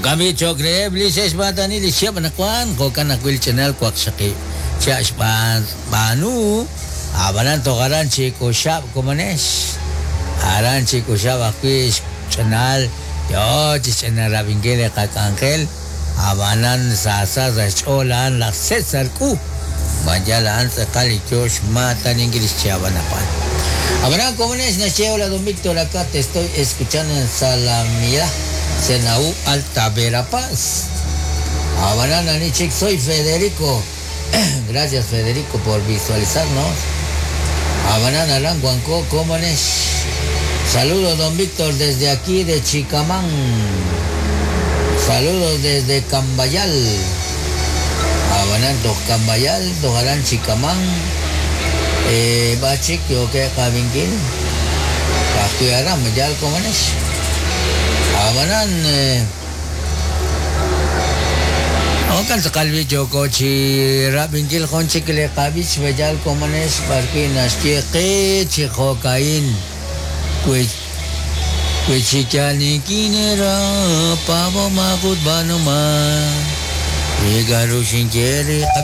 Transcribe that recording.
Jo'kan b'i' cho'q reheb' li xe'xmaatani li chihab' anaqwan, jo'kan ajwi' li ch'inal waqxaqib' chihab' xb'aanu, ab'anan toj aran chi k'uxab' komonex, aran chi k'uxab' ajwi' xch'inal yo chi xch'inarab'inkil li qak'anjel, ab'anan saasa sa' xch'ool a'an laj Cesar K'u, b'an yal a'an tz'aqal li yo xmaataninkil li xchihab' anaqwan. Ab'anan komonex naxye hola don Víctor acá te estoy escuchando en Salamida, Senaú, Alta Verapaz. Ab'anan ani chik soy Federico. Gracias Federico por visualizarnos. Ab'anan aran wanko komonex. Saludos don Víctor desde aquí de Chicamán. Saludos desde Cambayal. Ab'anan toj Cambayal, toj aran Chicamán. B'ar chik yookeb' qab'inkil? Ka'ajwi' aran ma yaal komonex. Ab'anan jo'kan tz'aqal b'i' yooko chi rab'inkil jun chik li qab'ich ma yaal komonex b'arwi' naxye qe chi jo'ka'in wi wi chi yaal nikineera paab'omaq ut b'aanumaq li k'a'ru xinye re qab'i.